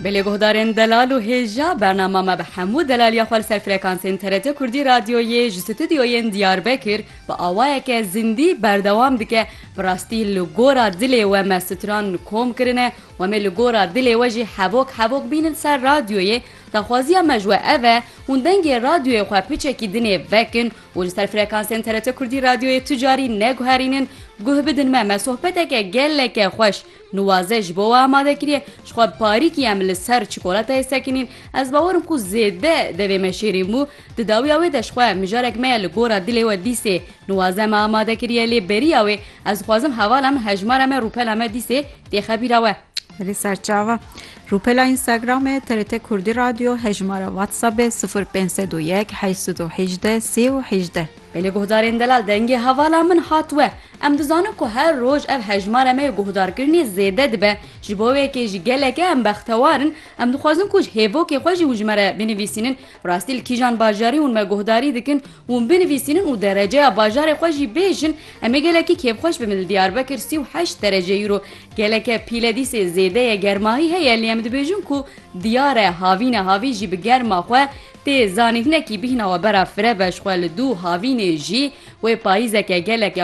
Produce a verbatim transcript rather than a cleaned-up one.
Belê guhdarên delal û hêja, bernama me bi hemû delaliya xwe li ser frekansên T R T Kurdî Radyoyê ji stûdyoyên Diyarbekir bi awayeke zindî berdewam dike. Bi rastî li gora dilê we me stran kom kirine û em ê li gora dilê we jî hevok hevok bînin ser radyoyê. Daxwaziya me ji we ev e, hûn dengê radyoyê xwe piçekî dinê vekin û li ser frekansên T R T Kurdî Radyoyê tu carî neguherînin. Guh bidin me, me sohbeteke geleke xweş Niwaze ji bo we amade kiriye. Ji xwe bi parîkî em li ser çikolatayê sekinîn. Ez bawer im ku zêde devê me şêrîn bû. Di dawiya wê de ji xwe mijarek me ye li gora dilê we dîsê Niwaze me amade kiriye, lê beriya wê ez dixwazim hevala min, hejmara me, rûpela me dîsê têxe bîra we. Belê serçava. Rûpela Instagramê T R T Kurdî Radyo, hejmara WhatsAppê sifir pênc sed û yek, heyş sed û hejdeh, sî û hejdeh. Belê guhdarên delal, dengê hevala min hat we. Em dizanin ku her roj ev hejmara me yê guhdarkirinê zêde dibe. Ji bo wê yekê jî geleke em bextewar in. Em dixwazin ku ji hêvokê xwe jî hûn ji me re binivîsînin. Bi rastî li kîjan bajarî hûn me guhdarî dikin, hûn binivîsînin û dereceya bajarê xwe jî bêjin. Em ê gelekî kêfxweş bibin, li Diyarbekir sî û heşt derece îro. Geleke pîle dîsê zêde ye, germahî heye, lê em dibêjin ku diyar e, havîne, havîn jî bi germa xwe tê zanîn. Hinekî bihîna we bera fireh be, ji xwe li dû havînê jî wê payîzeke gelek